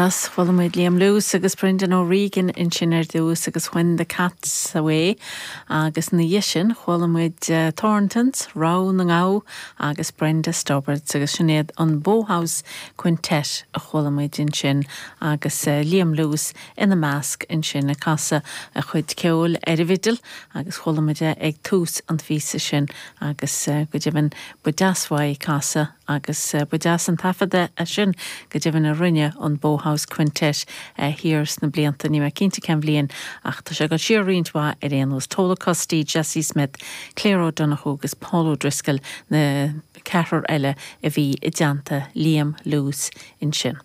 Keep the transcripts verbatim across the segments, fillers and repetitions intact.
Deas chuala muid Liam Lewis agus Brendan O'Regan ansin ar dtús agus When the Cat's Away agus ina dhiaidh sin chuala muid uh, Thorntons, Rogha na nGamh agus Brenda Stobbards agus sin iad an Bowhouse Quintet a chuala muid ansin agus uh, Liam Lewis ina measc ansin ag casadh a chuid ceoil ar an bhfidil agus chuala muid ag tús an phíosa sin agus uh, go deimhin ba deas uaidh casadh agus uh, ba deas an taifead é sin go deimhin a rinne an Bowhouse Quintet uh, thiar sna blianta ní mé cinnte cén bhliain ach tá sé go siar roinnt mhaith ar aon nós Tola Costí, Jesse Smith, Claire O'Donoghue agus Paul O'Driscoll na ceathrar eile a bhí i dteannta Liam Lewis ansin.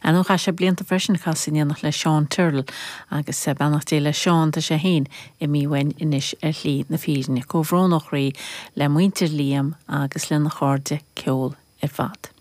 An ó chaith sé blianta freisin casadh in éineacht le Seán Tyrrell agus beannacht Dé le Seán tá sé féin imithe uainn anois ar shlí na fírinne comhbhrón ó chroí le muintir Liam agus lena chairde ceoil ar fad.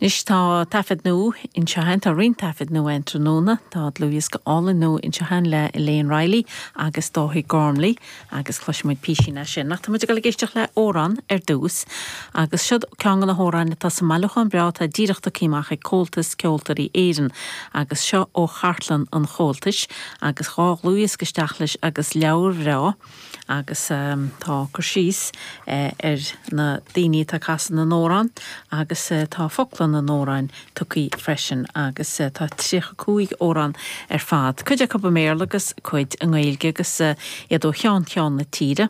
Anois tá taifead nua anseo againn tá roinnt taifead nua an tráthnóna tá dlúthdhiosca álainn nua anseo againn le Elaine Riley agus Dáithí Gormley agus cloisfimid píosa as sin. Ach tá muid ag éisteacht le amhrán ar dtús agus siod ceann de na hamhráin atá sa mbailiúchán breá atá díreach tagtha amach ag Comhaltas Ceoltóirí Éireann agus seo ó chartlann an Chomhaltais agus dhá dhlúthdhiosca isteach leis agus leabhar bhreá agus um, tá cur síos uh, ar na daoine atá ag casadh na n-amhrán agus uh, tá focla na n-amhrán tugtha freisin agus uh, tá tríocha cúig amhrán ar fad. Cuid acu i mBéarla agus cuid i nGaeilge agus uh, iad ó cheann ceann na tíre.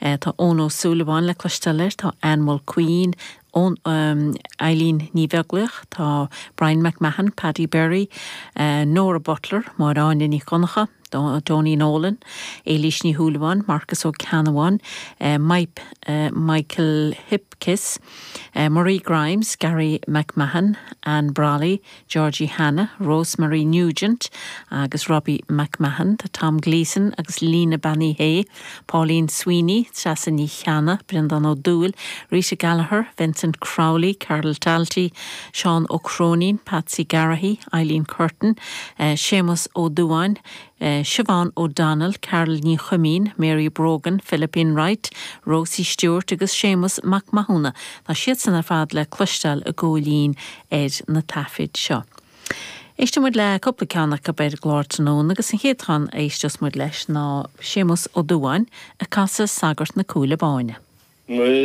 Uh, tá Eoin Ó Súilleabháin le cloisteáil air, tá Anne Queen, ón um, Eileen Ní Bheaglaoich, tá Brian McMahon, Paddy Berry, uh, Nora Butler, Máiráine Ní Choncha, Tony Nolan, Éilís Ní Shúilleabháin, Marcus Ó Ceannabháin, uh, Mike, uh, Michael Hipkiss, uh, Marie Grimes, Gary McMahon, Anne Brawley, Georgie Hanna, Rosemary Nugent agus Robbie McMahon, tá Tom Gleeson agus Lena Banny Hay, Pauline Sweeney, Treasa Ní Cheanna, Brendan Ó Dúill, Rita Gallagher, Vincent Crowley, Carol Talty, Sean O'Cronin, Patsy Garrahy, Eileen Curtin, uh, Seamus O'Duan, uh, Siobhan O'Donnell, Carol Ní Chumín, Mary Brogan, Philippine Wright, Rosie Stewart agus Seamus MacMahúna. Tá siad san ar fad le cloisteáil i gcóilín ar na taifid seo. Éistfimid le cúpla ceann acu ar an gclár tráthnóna agus an chéad cheann a éisteos muid leis ná Séamus Ó Dubháin ag casadh Sagart na Cúile Báine.